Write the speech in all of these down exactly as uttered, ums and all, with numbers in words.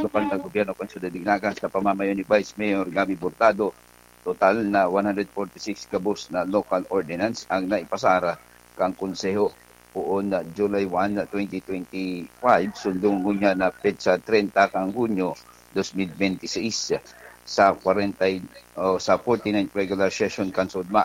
lokal na gobyerno kan Syudad de Naga sa pamamayo ni Vice Mayor Gabby Hurtado, total na one hundred forty-six gabos na local ordinance ang naipasar kan Konseho poon na July one, twenty twenty-five, sundong ngunyan na petsa treinta kan Hunyo dos mil benti seis sa kwarenta o sa forty-ninth regular session kan SODMA.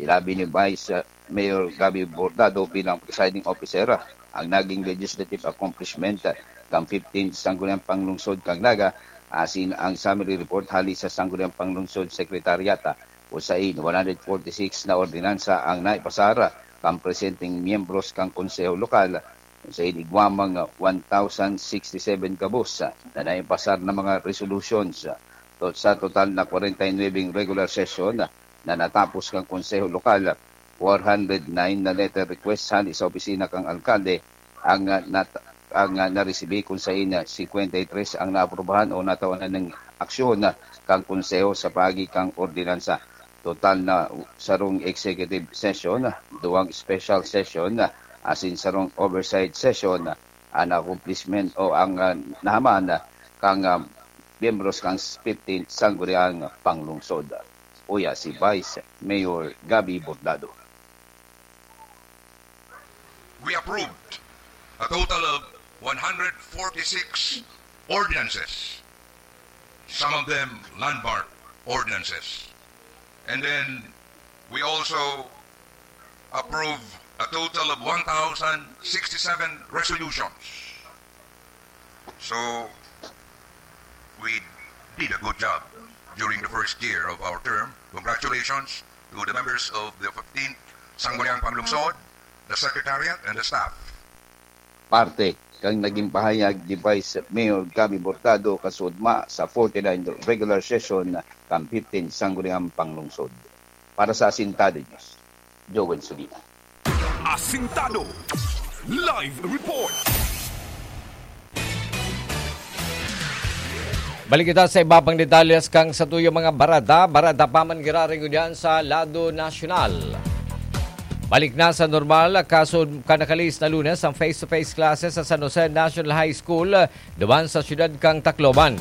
Ilabi ni Vice Mayor Gabby Hurtado bilang presiding officer ang naging legislative accomplishment kan fifteenth Sangguniang Panglungsod kan Naga, asin ang summary report hali sa Sangguniang Panglungsod Secretariat, kung sain one hundred forty-six na ordinansa ang naipasar kan presenteng miyembros kan Konseho Lokal, kung sain igwa mang one thousand sixty-seven gabos na naipasar na mga resolutions. To-, sa total na kwarenta y nuwebeng regular session na natapos kan Konseho Lokal, four hundred nine na letter request hali sa opisina kan alkalde ang, ah, nat-, ang, ah, naresibi, kung sain, ah, singkwenta y tres ang naaprubahan o natawanan nin aksyon, ah, kan Konseho sa paagi kan ordinansa. Total na sarong executive session, duwang special session, asin sarong oversight session, an accomplishment o ang, ah, nahaman kan, ah, miyembros kan fifteenth Sangguniang Panglungsod. Uya si Vice Mayor Gabby Hurtado. We approved a total of one hundred forty-six ordinances, some of them landmark ordinances. And then we also approve a total of one thousand sixty-seven resolutions. So, we did a good job during the first year of our term. Congratulations to the members of the fifteenth Sangguniang Panglungsod, the Secretariat, and the staff. Parte kan naging pahayag ni Vice Mayor Gabby Hurtado kan SODMA sa forty-ninth regular session kan fifteenth Sangguniang Panglungsod. Para sa Asintado News, Joel Sulina. Asintado Live Report. Balik kita sa iba pang detalles kan satuyang mga bareta. Bareta pa man giraray ngunyan sa lado nasyonal. Balik na sa normal, kaso kan nakalihis na Lunes ang face-to-face classes sa San Jose National High School, duman sa siyudad kan Tacloban.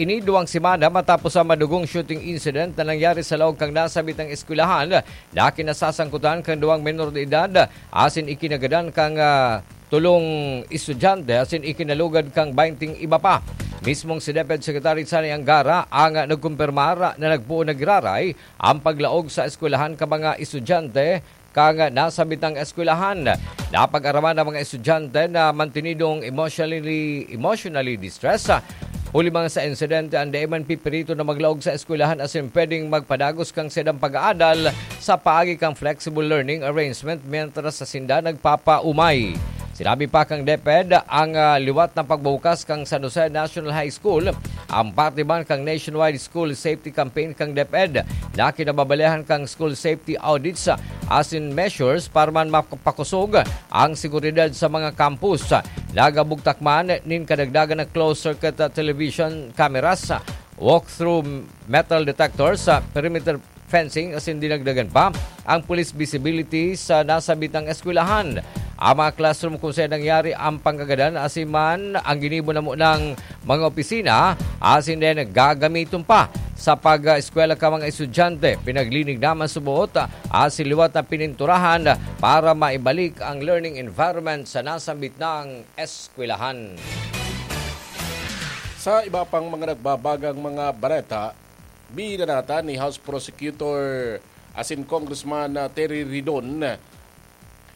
Ini duwang semana matapos ang madugong shooting incident na nangyari sa laog kan nasabitang eskwelahan, na kinasasangkutan kan duwang menor de edad asin ikinagadan kan, ah, tolong estudyante asin ikinalugad kan baynting iba pa. Mismong si DepEd Secretary Sonny Angara ang, ah, nagkumpirmar na nagpoon na giraray ang paglaog sa eskwelahan kan mga estudyante kan nasabitang eskwelahan. Napag-araman ang mga estudyante na mantenidong emotionally, emotionally distressed. Huli man sa insidente, an DepEd pipirito na maglaog sa eskwelahan asin pwedeng magpadagos kan saindang pag-aadal sa paagi kan flexible learning arrangement mientras sa sinda nagpapaumay. Sinabi pa kan DepEd, ang, ah, liwat na pagbubukas kan San Jose National High School, ang parte man kan nationwide school safety campaign kan DepEd na kinababalihan kan school safety audits, ah, asin measures para man mapakosog ang seguridad sa mga campus. Nagabugtak man nin kadagdagan na closed-circuit, ah, television cameras, ah, walk-through metal detectors, ah, perimeter fencing asin dinagdagan pa ang police visibility sa nasabitang eskwelahan. Ang mga classroom kung saan nangyari ang pangkagadan asin man ang ginibo na munang mga opisina asin din gagamiton pa sa pag-eskwela kan mga estudyante. Pinaglinig naman suboot asin liwat na pininturahan para maibalik ang learning environment sa nasambit na eskwelahan. Sa iba pang mga nagbabagang mga bareta, binanata ni House Prosecutor asin Congressman, ah, Terry Ridon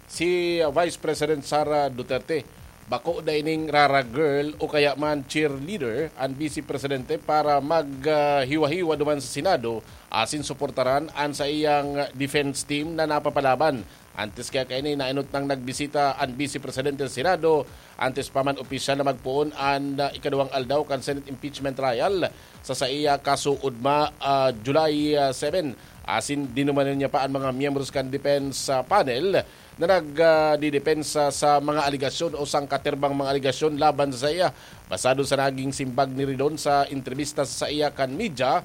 si, ah, Vice President Sara Duterte. Bako da ining rara girl o kaya man cheerleader an Vice Presidente para mag, ah, hiwa-hiwa duman sa Senado asin suportaran an saiyang defense team na napapalaban. Antes kaya kaini, nainot nang nagbisita an Vice Presidente sa Senado, antes pa man opisyal na magpoon an, ah, ikaduwang aldaw kan Senate impeachment trial sa saiya kaso ugma, ah, July, ah, seven. Asin dinumanan niya pa an mga miyembros kan defense, ah, panel na nag, ah, didepensa sa mga alegasyon o sangkaterbang mga alegasyon laban sa saiya. Basado sa naging simbag ni Ridon sa entrebista sa saiya kan media,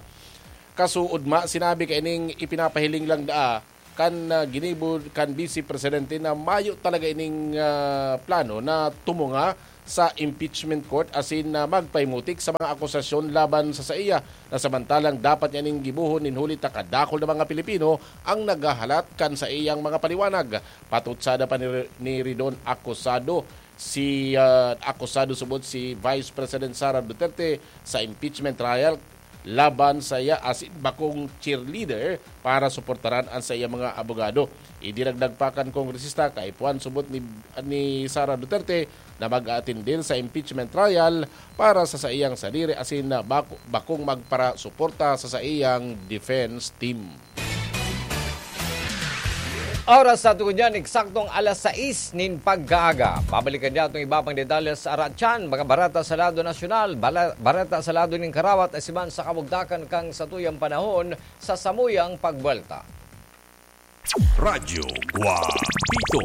kaso ugma, sinabi kaining ipinapahiling lang daa kan, ah, ginibo kan Vice Presidente na mayo talaga ining, ah, plano na tumunga sa impeachment court asin na magpahimutik sa mga akusasyon laban sa saiya, na samantalang dapat niya ning gibohon nin huli ta kadakul na mga Pilipino ang naghahalat kan saiyang mga paliwanag. Patutsada pa ni, ni Ridon, akusado si, ah, akusado subot si Vice President Sara Duterte sa impeachment trial laban saiya asin bakong cheerleader para suportaran an saiyang mga abogado. Idinagdag pa kan kongresista, kaipuhan subot ni, ni Sara Duterte na mag-aatender sa impeachment trial para sa saiyang sadiri asin na bako-, bakong magparasuporta sa saiyang defense team. Oras sa tugon niyan, eksaktong alas sais nin pagkaaga. Babalikan niya itong iba pang detalye sa Aratyan, mga bareta sa lado nasyonal, bala-, bareta sa lado nin karawat, asiman sa kabugtakan kan satuyang panahon sa samuyang pagbuwelta. Radyo Guapito.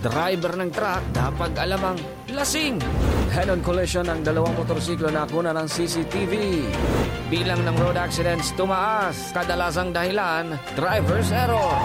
Driver ng truck, dapat alamang lasing. Head-on collision ng dalawang motorsiklo na kunan ng C C T V. Bilang ng road accidents tumaas. Kadalasang dahilan, driver's error.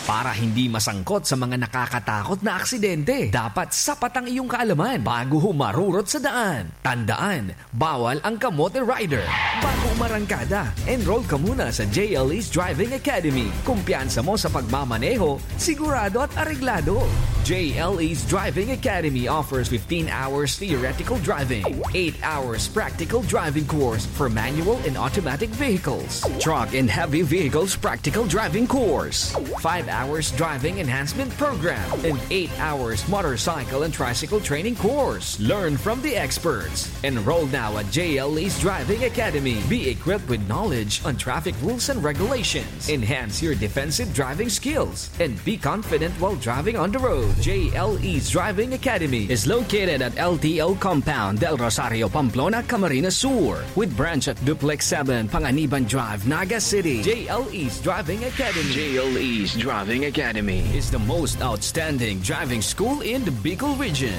Para hindi masangkot sa mga nakakatakot na aksidente, dapat sapat ang iyong kaalaman bago humarurot sa daan. Tandaan, bawal ang kamote rider. Bago umarangkada, enroll ka muna sa J L E's Driving Academy. Kumpiyansa mo sa pagmamaneho, sigurado at areglado. J L E's Driving Academy offers fifteen hours theoretical driving, eight hours practical driving course for manual and automatic vehicles, truck and heavy vehicles practical driving course, five hours driving enhancement program, and eight hours motorcycle and tricycle training course. Learn from the experts. Enroll now at J L E's Driving Academy. Be equipped with knowledge on traffic rules and regulations. Enhance your defensive driving skills and be confident while driving on the road. J L E's Driving Academy is located at L T O Compound, Del Rosario, Pamplona, Camarines Sur, with branch at Duplex seven, Panganiban Drive, Naga City. J L E's Driving Academy. J L E's Driving Academy is the most outstanding driving school in the Bicol region.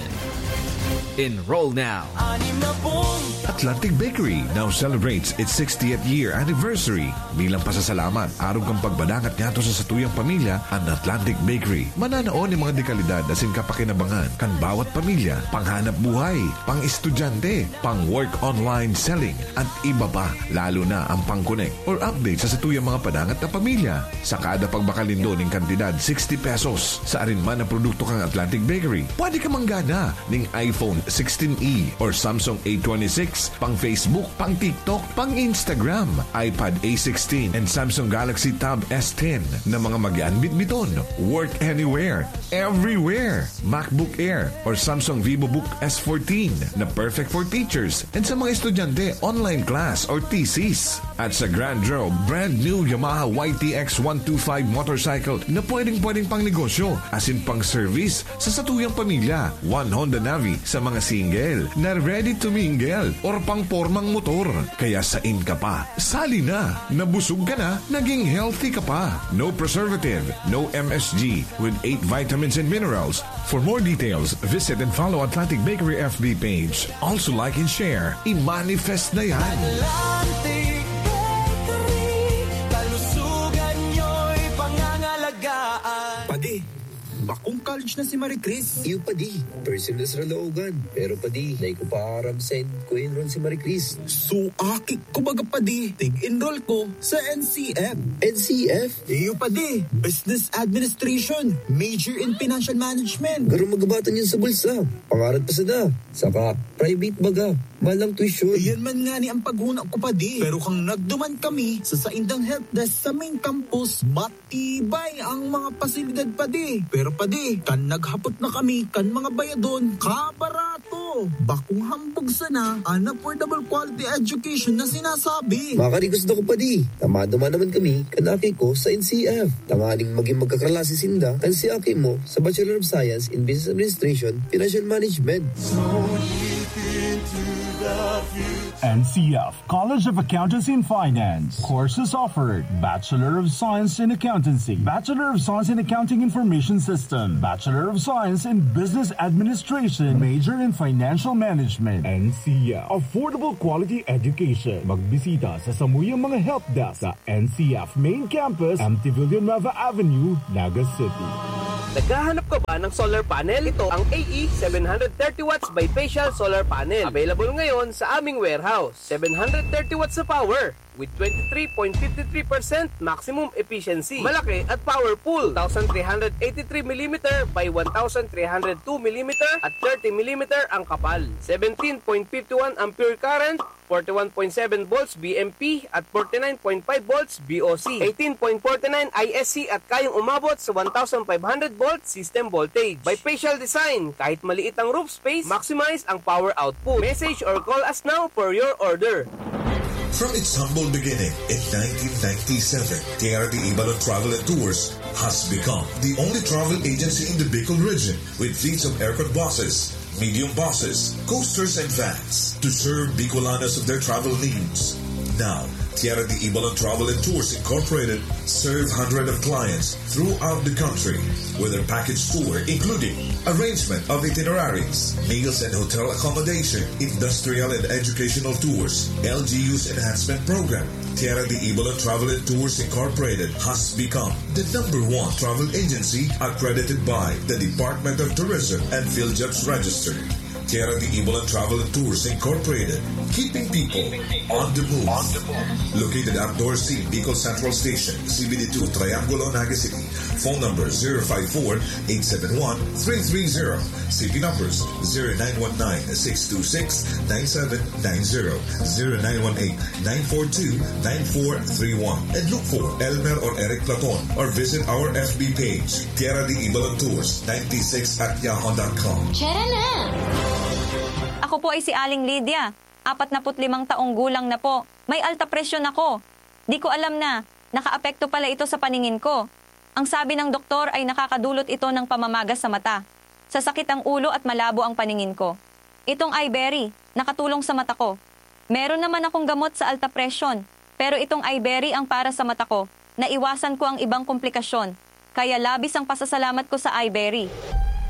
Enroll now. Atlantic Bakery now celebrates its sixtieth year anniversary. Bilang pasasalamat, arog kan pagpadangat ngadto sa satuyang pamilya, an Atlantic Bakery mananao nin mga dekalidad asin kapakinabangan kan bawat pamilya, panghanap buhay, pang-estudyante, pang-work online selling, at iba pa, lalo na ang pang-connect or update sa satuyang mga padangat na pamilya. Sa kada pagbakalindol nin kantidad sixty pesos sa arin man na produkto kan Atlantic Bakery, pwede ka manggana ning iPhone sixteen E or Samsung A twenty-six, pang Facebook, pang TikTok, pang Instagram, iPad A sixteen, and Samsung Galaxy Tab S ten na mga mag-aanbit-biton. Work anywhere, everywhere. MacBook Air or Samsung VivoBook S fourteen na perfect for teachers and sa mga estudyante, online class or thesis. At sa Grand Road, brand new Yamaha Y T X one two five motorcycle na pwedeng-pwedeng pang negosyo, asin pang service sa satuyang pamilya. One Honda Navi sa mga single na ready to mingle or pang pormang motor. Kaya sain ka pa? Sali na! Nabusog ka na, naging healthy ka pa. No preservative, no M S G, with eight vitamins and minerals. For more details, visit and follow Atlantic Bakery F B page. Also like and share. I-manifest na yan! Atlantic Bakery, kalusugan nyo'y pangangalagaan. Padi, bakong college na si Marie Chris. Iyo, padi. First sem na sa Caloocan. Pero, padi, dai ko pa aram saen ko enroll si Marie Chris. So, aki ko baga, padi. Tig-enroll ko sa N C F. N C F? Iyo, padi. Business Administration. Major in Financial Management. Garo magabatan yun sa bulsa. Pangarap pa sana. Saka, private baga. Mahal ang tuition. Iyan man ngani ang paghuna ko, padi. Pero kan nagduman kami sa saindang help desk sa main campus, matibay ang mga pasilidad, padi. Pero, padi, kan naghapot na kami kan mga bayadon, kabarato. Bakong hambog sana an affordable quality education na sinasabi. Makarigos na ko, padi. Ta maduman naman kami kan aki ko sa N C F. Tanganing magin magkaklase sinda kan si aki mo sa Bachelor of Science in Business Administration, Financial Management. N C F, College of Accountancy and Finance. Courses offered: Bachelor of Science in Accountancy, Bachelor of Science in Accounting Information System, Bachelor of Science in Business Administration, major in Financial Management. N C F, affordable quality education. Magbisita sa samuyang mga help desk sa N C F Main Campus, M T Villanueva Avenue, Naga City. Naghahanap ka ba ng solar panel? Ito ang A E seven hundred thirty watts bifacial solar panel. Available ngayon sa aming warehouse. Seven hundred thirty watts na power with twenty-three point five three percent maximum efficiency. Malaki at powerful. Two thousand three hundred eighty-three millimeter by one thousand three hundred two millimeter at thirty millimeter ang kapal. Seventeen point five one ampere current, forty-one point seven volts V M P at forty-nine point five volts V O C, eighteen point forty-nine I S C at kayang umabot sa one thousand five hundred volt system voltage. Bifacial design, kahit maliit ang roof space, maximize ang power output. Message or call us now for your order. From its humble beginning in nineteen ninety-seven, Tierra de Ibalon Travel and Tours has become the only travel agency in the Bicol region with fleets of aircon buses, medium buses, coasters, and vans to serve Bicolanos of their travel needs. Now, Tierra de Ibalon Travel and Tours Incorporated serve hundreds of clients throughout the country with their package tour, including arrangement of itineraries, meals and hotel accommodation, industrial and educational tours, L G U's enhancement program. Tierra de Ibalon Travel and Tours Incorporated has become the number one travel agency accredited by the Department of Tourism and PhilJobs Register. Tierra de Ibalon Travel and Tours Incorporated, keeping people on the move. Located at Dorsey, Bicol Central Station, C B D two, Triangulo, Naga City. Phone number zero five four, eight seven one, three three zero. C P numbers zero nine one nine, six two six, nine seven nine zero, zero nine one eight, nine four two, nine four three one. And look for Elmer or Eric Platon or visit our F B page, Tierra de Ibalon Tours ninety-six at yahoo dot com. Tara na! Ako po ay si Aling Lydia. Apat na put limang taong gulang na po. May alta presyon ako. Di ko alam na nakaapekto pala ito sa paningin ko. Ang sabi ng doktor ay nakakadulot ito ng pamamaga sa mata, sasakit ang ulo at malabo ang paningin ko. Itong Iberry, nakatulong sa mata ko. Meron naman akong gamot sa alta presyon, pero itong Iberry ang para sa mata ko. Naiwasan ko ang ibang komplikasyon, kaya labis ang pasasalamat ko sa Iberry.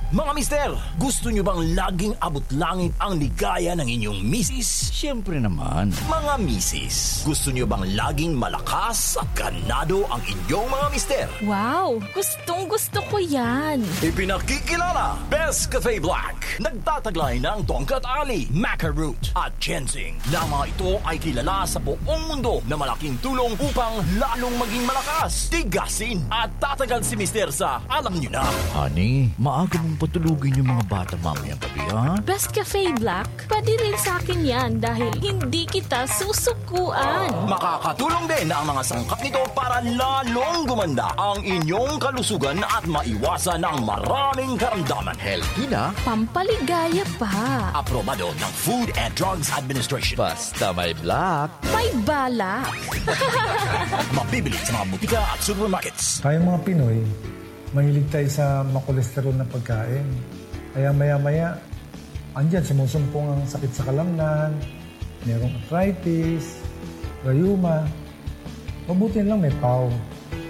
Mga mister, gusto nyo bang laging abot langit ang ligaya ng inyong misis? Siyempre naman. Mga misis, gusto nyo bang laging malakas at ganado ang inyong mga mister? Wow! Gustong gusto ko yan! Ipinakikilala, Best Cafe Black. Nagtataglay ng tongkat ali, maca root, at ginseng na mga ito ay kilala sa buong mundo na malaking tulong upang lalong maging malakas, tigasin, at tatagal si mister sa alam nyo na. Honey, maaga mong patulugin yung mga bata mamayang gabi, ha? Best Cafe Black, pwede rin sa akin yan dahil hindi kita susukuan. Makakatulong din ang mga sangkap nito para lalong gumanda ang inyong kalusugan at maiwasan ang maraming karamdaman. Healthy na. Pampaligaya pa. Aprobado ng Food and Drugs Administration. Basta may black. May balak. Mabibili sa mga butika at supermarkets. Tayong mga Pinoy, mahilig tayo sa makolesterol na pagkain. Kaya maya-maya, andyan, sumusumpong ang sakit sa kalamnan, merong arthritis, rayuma. Mabuti na lang may pau.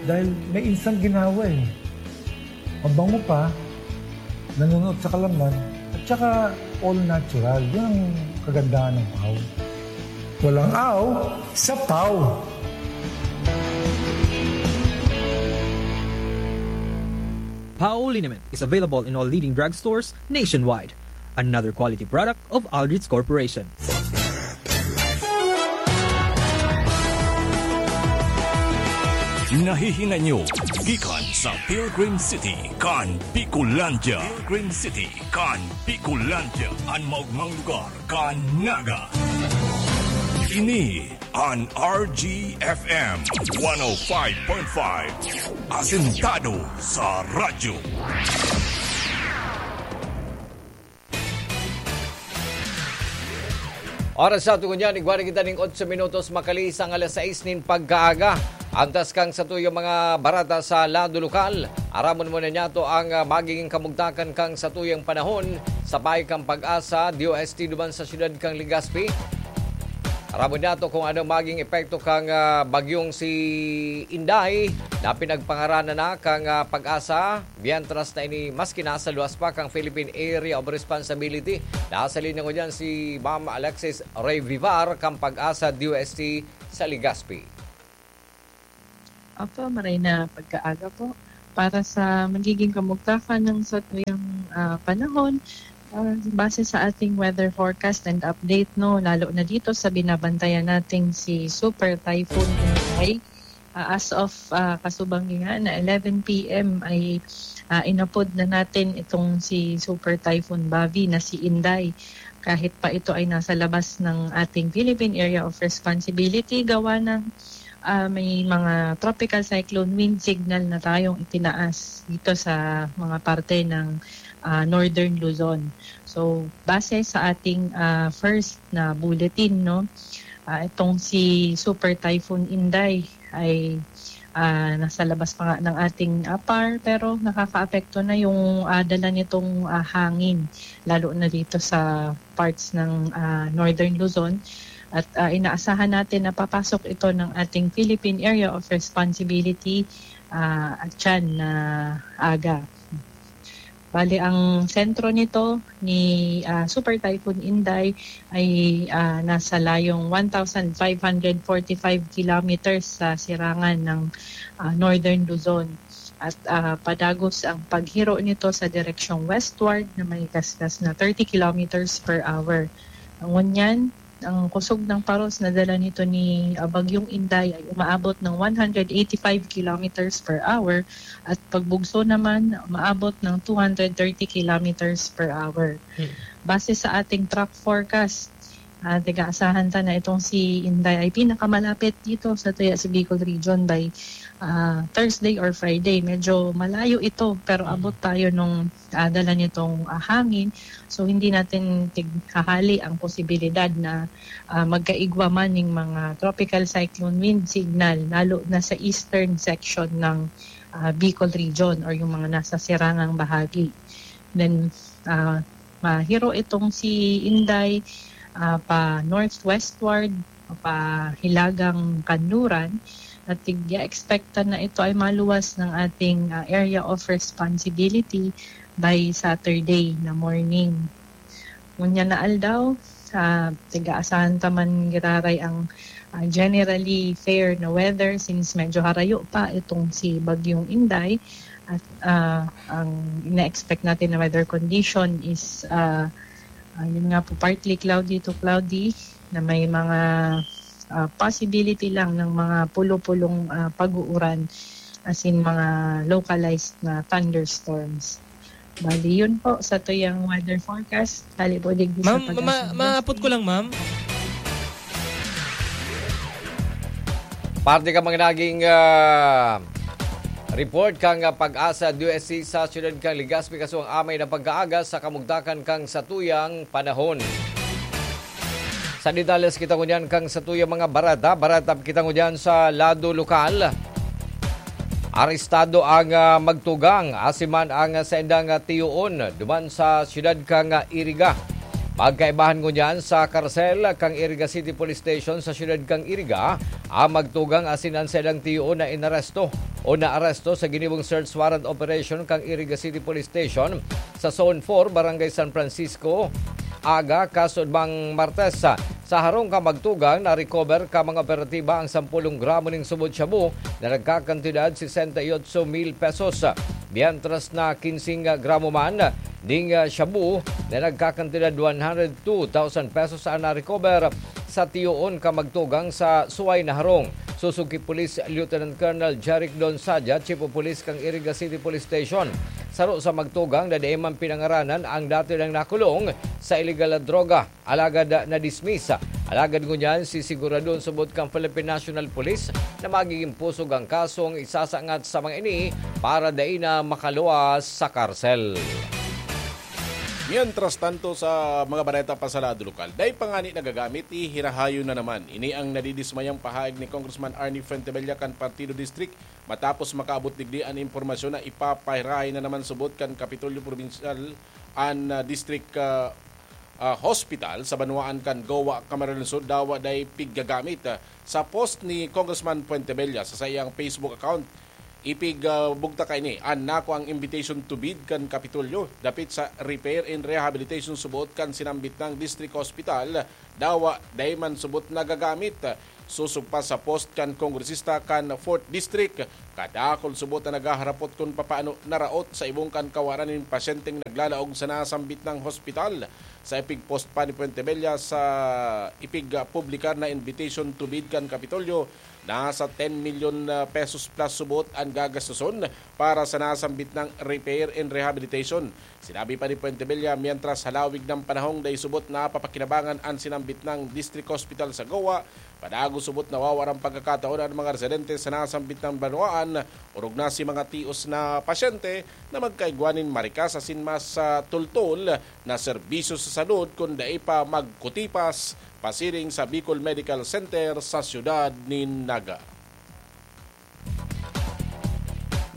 Dahil may instant ginhawa eh. Mabango pa, nanunuot sa kalamnan, at saka all natural. Yun ang kagandahan ng pau. Walang aw sa pau. Pau liniment is available in all leading drugstores nationwide. Another quality product of Aldrich Corporation. Nahihinay nyo gikan sa Pilgrim City kan Bicolandia. Pilgrim City kan Bicolandia, an maogmang lugar kan Naga. Ini an R G F M one oh five point five. Asentado sa radyo. Oras sa tungon niyan, igwa na kita ning otso minutos makalihis ang alas sais nin pagkaaga. Antas kang satuyang mga barata sa lado lokal, aramon mo na niyato ang, ah, magiging kamugtakan kang satuyang panahon sa Bahay kang Pag-asa, D O S T duman sa siyudad kang Legazpi. Parabot nato kung ano maging epekto kan, ah, bagyong si Inday na pinagpangaranan na kan, ah, PAGASA, mientras na ini maski nasa luwas pa kan Philippine Area of Responsibility. Nasa linya ngunyan si Ma'am Alexis Rey Vivar kan PAGASA D O S T sa Legazpi. Opo, maray na pagkaaga po. Para sa magiging kamugtakan ng satuyang, ah, panahon, ah, base sa ating weather forecast and update, no, lalo na dito sa binabantayan nating si Super Typhoon Inday. Ah, as of, ah, kasubang nga na eleven p m ay, ah, inapod na natin itong si Super Typhoon Bavi na si Inday. Kahit pa ito ay nasa labas ng ating Philippine Area of Responsibility, gawa ng, ah, may mga tropical cyclone wind signal na tayong itinaas dito sa mga parte ng, ah, Northern Luzon. So, base sa ating, ah, first na bulletin, no, ah, itong si Super Typhoon Inday ay, ah, nasa labas pa nga ng ating, ah, par, pero nakakaapekto na yung, ah, dala nitong, ah, hangin, lalo na dito sa parts ng, ah, Northern Luzon. At, ah, inaasahan natin na papasok ito ng ating Philippine Area of Responsibility, ah, at yan na aga. Bali, ang sentro nito ni, ah, Super Typhoon Inday ay, ah, nasa layong one thousand five hundred forty-five kilometers sa sirangan ng, ah, Northern Luzon. At, ah, padagos ang paghiro nito sa direksyong westward na may kaskas na thirty kilometers per hour. Ngunyan, ang kusog ng paros na dala nito ni, ah, Bagyong Inday ay umaabot ng one hundred eighty-five kilometers per hour at pagbugso naman umaabot ng two hundred thirty kilometers per hour. Hmm. Base sa ating track forecast, ah, tiga-asahan ta na itong si Inday ay pinakamalapit dito sa tuya sa Bicol Region by, ah, Thursday or Friday. Medyo malayo ito, pero abot tayo nung, ah, dala nitong, ah, hangin. So, hindi natin tighahali ang posibilidad na, ah, magkaigwa man ning mga tropical cyclone wind signal, lalo na sa eastern section ng, ah, Bicol Region or yung mga nasa sirangang bahagi. Then, ah, mahiro itong si Inday, ah, pa northwestward, pa hilagang kanluran, at tig-expectan na ito ay maluwas ng ating, ah, area of responsibility by Saturday na morning. Ngunyan na aldaw, ah, tiga-asahan ta man giraray ang, ah, generally fair na weather since medyo harayo pa itong si Bagyong Inday. At, ah, ang ina-expect natin na weather condition is, ah, ah, yun nga po, partly cloudy to cloudy na may mga, ah, possibility lang ng mga pulo-pulong, ah, pag-uuran, as in mga localized na thunderstorms. Bali, yun po sa tuyang weather forecast. Bali po, digdi sa Ma'am, ma- pag-asa. Maapot ko lang, ma'am. Parte ka mga naging, ah, report kan, ah, PAGASA D O S T sa siyudad kan Legazpi, kasuang amay na pagkaaga sa kamugtakan kan satuyang panahon. Sa detalles kita ngunyan kan satuyang mga bareta. Bareta kita ngunyan sa lado lokal. Arestado ang, ah, magtugang, asin man ang saindang, ah, tiyoon duman sa siyudad kan, ah, Iriga. Magkaibahan ngunyan sa karsel kan Iriga City Police Station sa siyudad kan Iriga, ang magtugang asin ang saindang tiyoon na inaresto o naaresto sa ginibong search warrant operation kan Iriga City Police Station sa Zone four, Barangay San Francisco, aga kasuodmang Martes. Sa harong kan magtugang, na-recover kan mga operatiba ang sampulong gramo ning subot shabu na nagkakantidad sesenta y otso mil pesos, mientras na kinsing gramo man ning shabu na nagkakantidad one hundred two thousand pesos ang na-recover sa tiyoon kan magtugang sa suway na harong. Susog ki Police Lieutenant Colonel Jeric Don Sadia, Chief of Police kan Iriga City Police Station, saro sa magtugang na dai man pinangaranan ang dati nang nakulong sa iligal na droga, alagad na-dismiss. Alagad ngunyan, sisiguradon subot kan Philippine National Police na magiging pusog ang kasong isasangat sa mga ini para dai na makaluwas sa karsel. Mientras tanto, sa mga bareta pa sa lado lokal, dai pa ngani nagagamit, ihirahayon na naman. Ini ang nadidismayang pahayag ni Congressman Arnie Fuentebella kan Partido District matapos makaabot digdi an impormasyon na ipapahirahay na naman subot kan Kapitolyo Probinsyal an, ah, district, ah, ah, hospital sa banwaan kan Goa, Camarines Sur, dawa dai piggagamit. Ah, sa post ni Congressman Fuentebella sa saiyang Facebook account, ipig, ah, bugta kaini, an nako ang invitation to bid kan Kapitolyo dapit sa repair and rehabilitation suboot kan sinambit nang district hospital, dawa dai man subot nagagamit. Sosog pa sa post kan kongresista kan fourth District, kadakul subot na naghaharapot kun papaano naraot sa ibong kan kawaran nin pasyenteng naglalaog sa nasambit nang hospital. Sa ipig-post pa ni Fuentebella sa ipig-publikar na invitation to bid kan Kapitolyo, nasa ten milyon pesos plus subot an gagastoson para sa nasambit nang repair and rehabilitation. Sinabi pa ni Fuentebella, mientras halawig ng panahong dai subot napapakinabangan an sinambit nang District Hospital sa Goa, padago subot nawawaran pagkakataon an mga residente sa nasambit nang banwaan, orog na si mga tios na pasyente na magkaigwa nin marikas asin mas, ah, tultol na serbisyo sa salud kun dai pa magkutipas pasiring sa Bicol Medical Center sa siyudad nin Naga.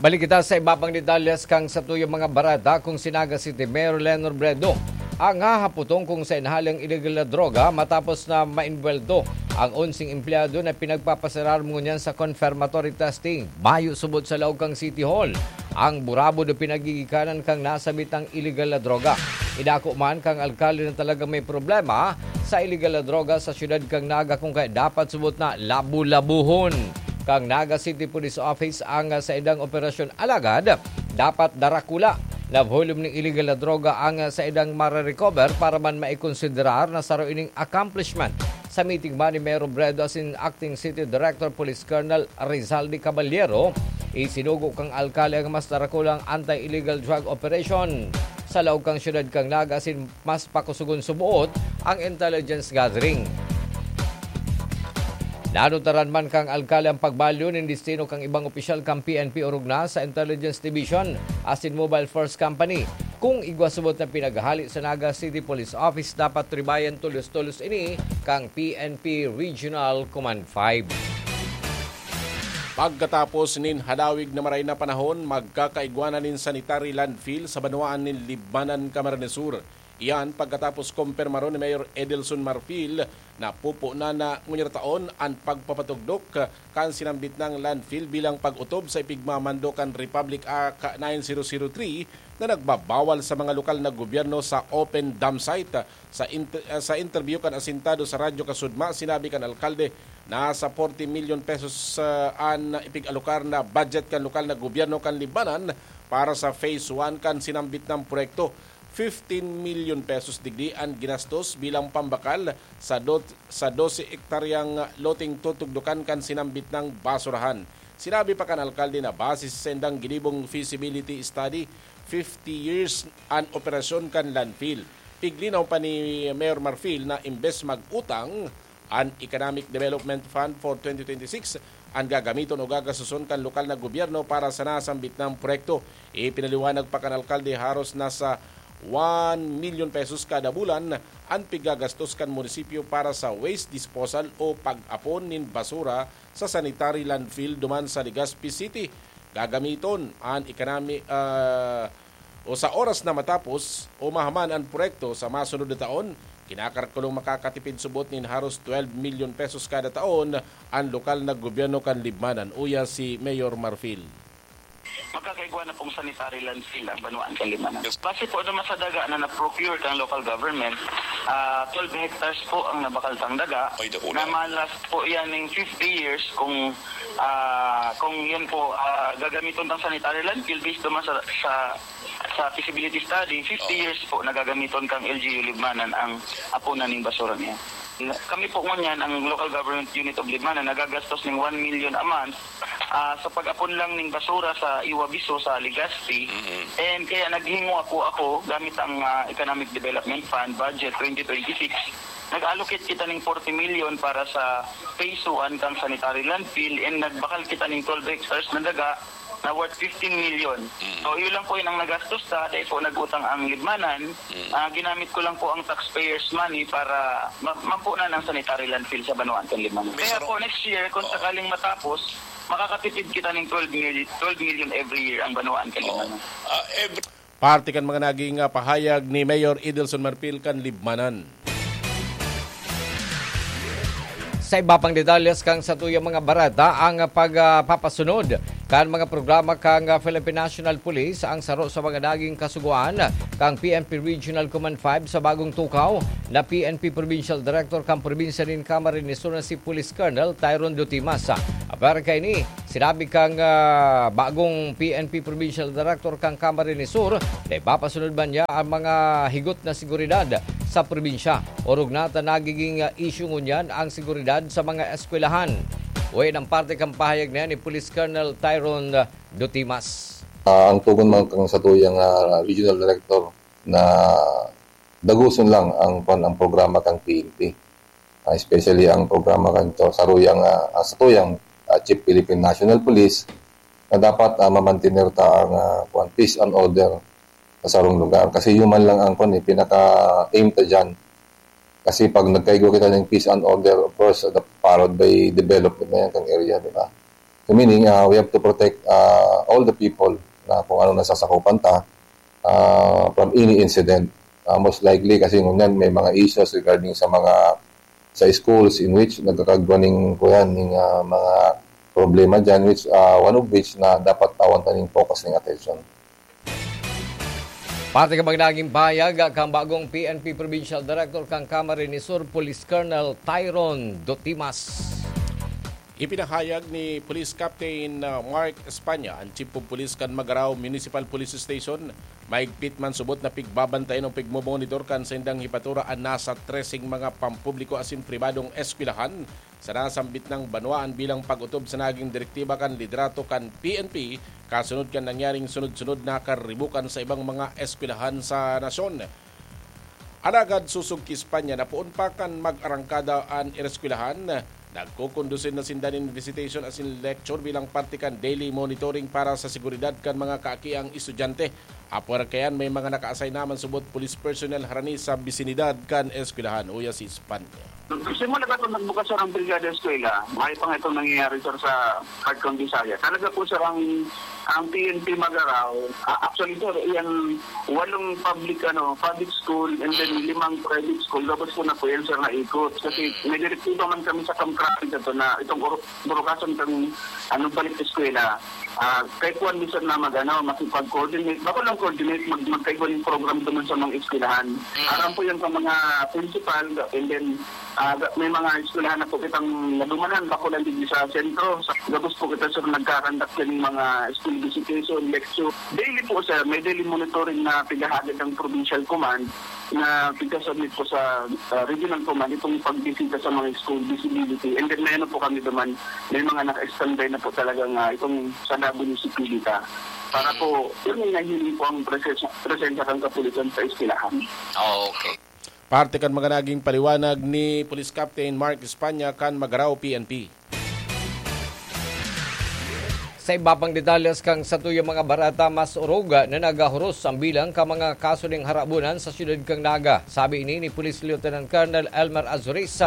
Balik kita sa iba pang detalyes kan satuyang mga bareta. Kung si Naga City Mayor Leni Robredo ang hahaputong kung saen hale ang illegal na droga matapos na maembwelto ang onseng empleyado na pinagpapaserar ngunyan sa confirmatory testing. Mayo subot sa laog kan City Hall ang burabod o pinagigikanan kan nasambit na illegal na droga. Idako man kan alkalde na talagang may problema sa illegal na droga sa siyudad kan Naga, kung kaya dapat subot na labu-labuhon kan Naga City Police Office ang saindang operasyon. Alagad, dapat darakula na volume nin illegal na droga ang saindang mare-recover para man maikonsiderar na saro ining accomplishment. Sa meeting man ni Mayor Robredo asin Acting City Director Police Colonel Rizaldi Caballero, isinugo kan alkalde ang mas darakulang anti-illegal drug operation sa laog kan siyudad kan Naga asin mas pakusugon suboot ang intelligence gathering. Nanutaran man kan alkalde ang pagbalyo nin destino kan ibang opisyal kan P N P orog na sa Intelligence Division asin Mobile Force Company. Kung igwa subot na pinaghale sa Naga City Police Office, dapat ribayan tolos-tolos ini kan P N P Regional Command five. Pagkatapos nin halawig na maray na panahon, magkakaigwa na nin sanitary landfill sa banwaan nin Libmanan, Camarines Sur. Iyan pagkatapos kompermaron ni Mayor Edelson Marfil na pupunan na ngunyan taon an pagpapatugdok kan sinambit nang landfill bilang pag-otob sa ipigmamando kan Republic Act nine zero zero three na nagbabawal sa mga lokal na gobyerno sa open dump site. Sa int-, sa interview kan Asintado sa Radyo Kasudma, sinabi kan alkalde na sa forty million pesos, ah, an ipig-alokar na budget kan lokal na gobyerno kan Libmanan para sa phase one kan sinambit nang proyekto. Fifteen million pesos digdi an ginastos bilang pambakal sa dot-, sa dose hektaryang loteng tutugdokan kan sinambit nang basurahan. Sinabi pa kan alkalde na base sa sendang ginibong feasibility study, fifty years an operasyon kan landfill. Piglinaw pa ni Mayor Marfil na imbes mag-utang, an Economic Development Fund for twenty twenty-six an gagamiton o gagastuson kan lokal na gobyerno para sa nasambit na proyekto. Ipinaliwanag pa kan alkalde, haros nasa one million pesos kada bulan an pigagastos kan munisipyo para sa waste disposal o pag-apon nin basura sa sanitary landfill duman sa Legazpi City. Gagamiton an economic, ah, o sa oras na matapos o mahaman an proyekto sa masunod na taon, kinakarakulong makakatipid subot nin haros twelve million pesos kada taon an lokal na gobyerno kan Libmanan, uya si Mayor Marfil. Magkakaigwa na pong sanitary landfill ang banwaan kan Libmanan. Base po naman sa daga na na-procure kang local government, ah, twelve hectares po ang nabakal tang daga. Ay, dako na. Na ma-last po yan ng fifty years kung, ah, kung yun po, ah, gagamiton tang sanitary landfill based naman sa, sa, sa feasibility study, fifty Oo. years po nagagamiton kang L G U Libmanan ang apunan ning basura niya. Kami po ngunyan, ang Local Government Unit of Libmanan, nagagastos ning one million a month, ah, sa pag-apon lang ning basura sa Iwabiso, sa Legazpi. Mm-mm. And kaya naghingo ako, ako, gamit ang, ah, Economic Development Fund budget twenty twenty-six. Nag-allocate kita ning forty million para sa phase one kang sanitary landfill, and nagbakal kita ning twelve hectares na daga na worth fifteen million. Mm. So, yun lang po yun ang nagastos ta, dahil po nag-utang ang Libmanan. Mm. Ah, ginamit ko lang po ang taxpayers' money para ma-, mapunan ang sanitary landfill sa banwaan kan Libmanan. May Kaya sarong po, next year, kung Oo. sakaling matapos, makakatipid kita ng twelve million, twelve million every year ang banwaan kan Oo. Libmanan. Ah, every Parte kan mga naging, ah, pahayag ni Mayor Edelson Marfil kan Libmanan. Sa iba pang detalles kan satuyang mga bareta, ang pagpapasunod kan mga programa kan Philippine National Police ang saro sa mga naging kasugoan kan P N P Regional Command five sa bagong tukaw na P N P Provincial Director kan probinsya nin Camarines Sur na si Police Colonel Tyron Dutimas. Apwera kaini, sinabi kan, ah, bagong P N P Provincial Director kan Camarines Sur na ipapasunod man niya ang mga higot na seguridad sa probinsya. Orog na ta nagiging, ah, issue ngunyan ang seguridad sa mga eskwelahan. Uwi ng parte kan pahayag na yan ni Police Colonel Tyron, ah, Dutimas. Ah, ang tugon man kan satuyang, ah, regional director na daguson lang ang, kwan, ang programa kan P N P. Ah, especially ang programa kan to, saruyang, ah, ah, satuyang, ah, Chief Philippine National Police na dapat, ah, mamantener ta ang, ah, kwan, peace and order sa sarong lugar. Kasi human lang ang, kwan, eh, pinaka-aim ta dyan. Kasi pag nagkaigwa kita ng peace and order, of course, the, followed by development na yan kang area, di ba? So meaning, ah, we have to protect, ah, all the people na kung ano nasasakupan ta, ah, from any incident. Ah, most likely kasi ngunyan may mga issues regarding sa mga, sa schools in which nagkakagwa ning, kuyan, ning, ah, mga problema dyan, which, ah, one of which na dapat tawan ta ning focus ning attention. Parte kan mga naging pahayag kan bagong P N P Provincial Director kan Camarines Sur, Police Colonel Tyron Dotimas. Ipinahayag ni Police Captain, uh, Mark Espana, an Chief of Police kan Magarao Municipal Police Station, maigpit man subot na pigbabantayan o pigmomonitor kan saindang hipatura an nasa treseng mga pampubliko asin pribadong eskwelahan sa nasambit nang banwaan bilang pag-otob sa naging direktiba kan liderato kan P N P, kasunod kan nangyaring sunod-sunod na karibukan sa ibang mga eskwelahan sa nasyon. Alagad sosog ki Espana na poon pa kan mag-arangkada an eskwelahan, nagkokondusi na sinda nin visitation asin lecture bilang parte kan daily monitoring para sa seguridad kan mga kaakiang estudyante. Apwera kaiyan, may mga naka-assign naman subot police personnel harani sa bisinidad kan eskwelahan, uya si Espana. Simula pa itong nagbukas, sir, ang Brigada Eskwela, mayo pa nga itong nangyayari, sir, sa part ng Bisaya. Talaga po, sir, ang, ang P N P Magarao, ah, actually, sir, yung walong public, ano, public school and then limang private school, gabos po na po yan, sir, na ikot. Kasi may direktiba man kami sa Kamkrami na ito na itong oro-, burukasan kang, ano, balik eskwela. Ah, kay kuwan, minsan na mag-, ano, makipag-coordinate. Bako lang coordinate, mag-, magkaigwa ng program doon sa mga eskwelahan. Aram po yan sa mga principal, and then, ah, ga-, may mga eskwelahan na po kitang nadumanan, bako lang din sa sentro. Sa gabos po kita, sir, nagkakandak yan ng mga school visitation, lecture. Daily po, sir, may daily monitoring na pigahagad ng provincial command na pigka-submit po sa, ah, regional command itong pagbisita sa mga school, visibility. And then may ano po kami naman, may mga naka-standby na po talagang, ah, itong sa Davao Municipality. Para po, yun yung nahiling po ang presensya, presensya ng kapulisan sa eskwelahan. Oh, okay. Parte kan mga naging paliwanag ni Police Captain Mark Espana kan Magarao P N P. Sa iba pang detalles kan satuyang mga bareta, mas orog na naghahuros ang bilang kan mga kaso nin harabunan sa siyudad kan Naga. Sabi ini ni Police Lieutenant Colonel Elmer Azuris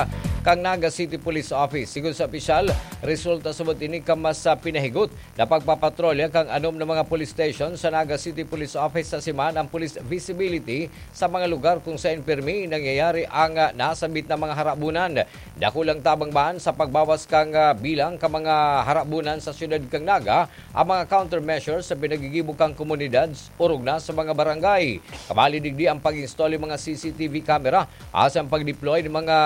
kan Naga City Police Office. Sigon sa opisyal, resulta subot ini kan mas, ah, pinahigot na pagpapatrolya kan anom na mga police station sa Naga City Police Office sa siman ang police visibility sa mga lugar kung saen pirmi nangyayari ang, ah, nasambit na mga harabunan. Dakulang tabang man sa pagbawas kan, ah, bilang kan mga harabunan sa siyudad kan Naga ang mga countermeasures sa pinagigibo kan komunidad, orog na sa mga barangay. Kabali digdi ang pag-install ng mga C C T V camera asin ang pag-deploy ng mga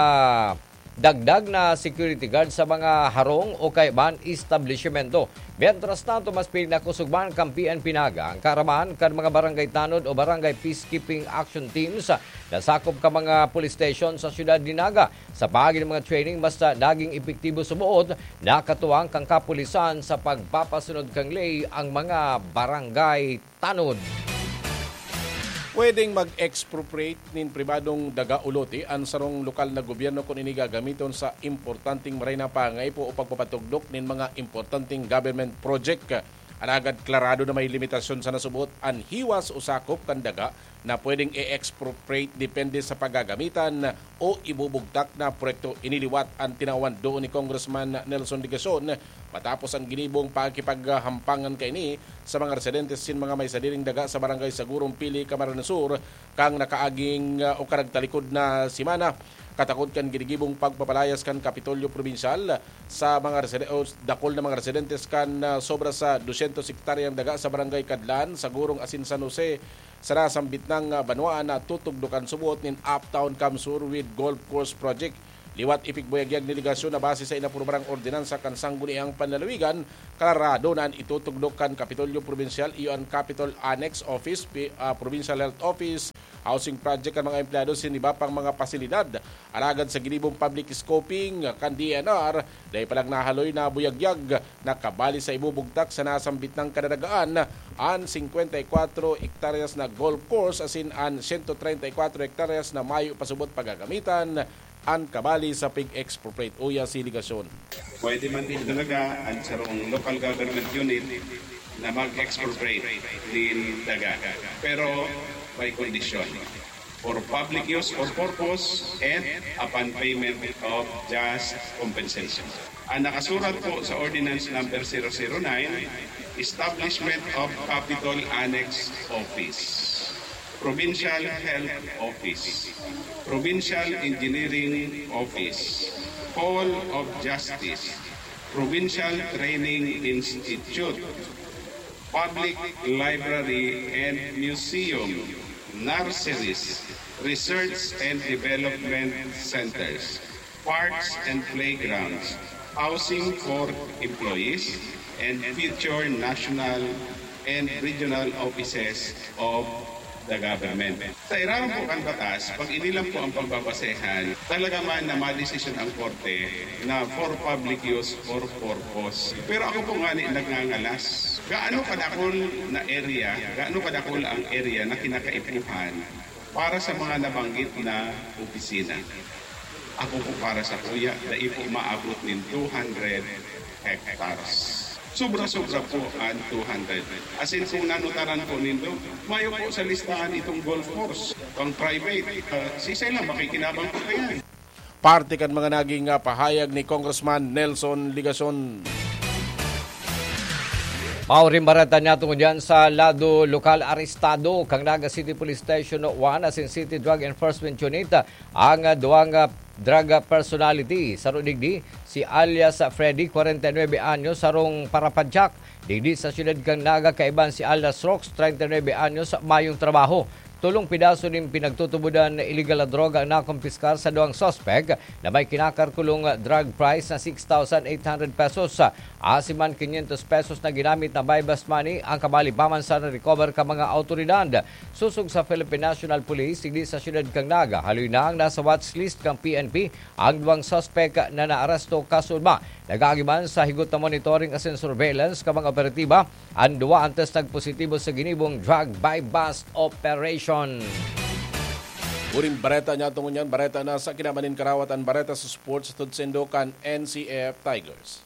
dagdag na security guard sa mga harong o kaiba man establishmento. Mientras tanto, mas pinakosog man kan P N P Naga ang kaaraman kan mga barangay tanod o barangay peacekeeping action teams na sakop kan mga police station sa siyudad nin Naga. Sa paagi nin mga training, mas naging epektibo subot na katuwang kan kapulisan sa pagpapasunod kan ley ang mga barangay tanod. Pwedeng mag-expropriate nin pribadong daga o lote an sarong lokal na gobyerno kun ini gagamiton sa importanteng maray na pangaipo o pagpapatugdok nin mga importanteng government project. Alagad klarado na may limitasyon sa nasubot an hiwas o sakop kan daga na pwedeng i-expropriate depende sa pagagamitan o ibubugtak na proyekto. Iniliwat an tinawan doon ni Congressman Nelson Legacion matapos ang ginibong pakikipaghampangan kaini sa mga residentes sin mga may sadiring daga sa Barangay Sagurong, Pili, Camarines Sur, kang nakaaging, ah, o karagtalikod na semana. Katakod kan ginigibong pagpapalayas kan Kapitolyo Probinsyal sa mga reside-, o dakul na mga residentes kan, ah, sobra sa dosyentos hektaryang daga sa Barangay Cadlan, Sagurong asin San Jose, sa nasambit nang, ah, banwaan na tutugdokan subot nin Uptown Camsur with Golf Course Project. Liwat ipigbuyagyag ni Legacion na base sa inaprubarang ordinansa kan Sangguniang Panlalawigan, klarado na an itutugdok kan Kapitolyo Probinsyal iyo an Capitol Annex Office, pi-, ah, Provincial Health Office, housing project kan mga empleyado sin iba pang mga pasilidad. Alagad sa ginibong public scoping kan D E N R, dai pa lang nahaloy na buyagyag na kabali sa ibubugtak sa nasambit nang kadadagaan, an singkwenta y kwatro hektaryas na golf course asin an siyento treinta y kwatro hektaryas na mayo pa subot pagagamitan an kabali sa pig-expropriate. Uya si Legacion. Pwede man din talaga ang sarong local government unit na mag-expropriate din daga. Pero may kondisyon. For public use or purpose and upon payment of just compensation. Ang nakasurat po sa Ordinance Number zero zero nine, Establishment of Capitol Annex Office, Provincial Health Office, Provincial Engineering Office, Hall of Justice, Provincial Training Institute, Public Library and Museum, nurseries, research and development centers, parks and playgrounds, housing for employees, and future national and regional offices of the government. Sa irarom po kan batas, pag inilang po ang pagbabasehan, talaga man na madesisyon ang korte na for public use or purpose. Pero ako po nga ni nagngangalas, gaano kadakol na area, gaano kadakol ang area na kinakaipuhan para sa mga nabanggit na opisina? Ako po para sa kuya, dai po maabot nin two hundred hectares. Sobra-sobra po ang two hundred. As in, kung nanutaran po nindo, mayo po sa listahan itong golf course, pang private. Ah, sisay lang, makikinabang po kayan. Parte kan mga naging, ah, pahayag ni Congressman Nelson Legacion. Maoring bareta niya tungod yan sa lado lokal. Arestado kan Naga City Police Station one asin City Drug Enforcement Unit ang, ah, duwang, ah, drug personality. Saro digdi, si alias Freddy, kwarenta y nuebe anyos, sarong parapadyak digdi sa siyudad kan Naga, kaiban si alias Rox, treinta y nuebe anyos, mayong trabaho. Tolong pidaso nin pinagtutubodan na iligal na droga ang nakumpiskar sa duwang suspek na may kinakalkulong drug price na six thousand eight hundred pesos. Asin man quinientos pesos na ginamit na buy-bust money ang kabali pa man sa na-recover kan mga awtoridad. Sosog sa Philippine National Police, digdi sa siyudad kan Naga, haloy na ang nasa watch list kan P N P ang duwang suspek na naaresto. Kasuodma, nag-aagi man sa higot na monitoring asin surveillance kan mga operatiba an duwa antes nagpositibo sa ginibong drug buy-bust operation. Huring bareta niya tungod niyan, bareta na sa kinaban nin karawat, an bareta sa sports, hatod saindo kan N C F Tigers.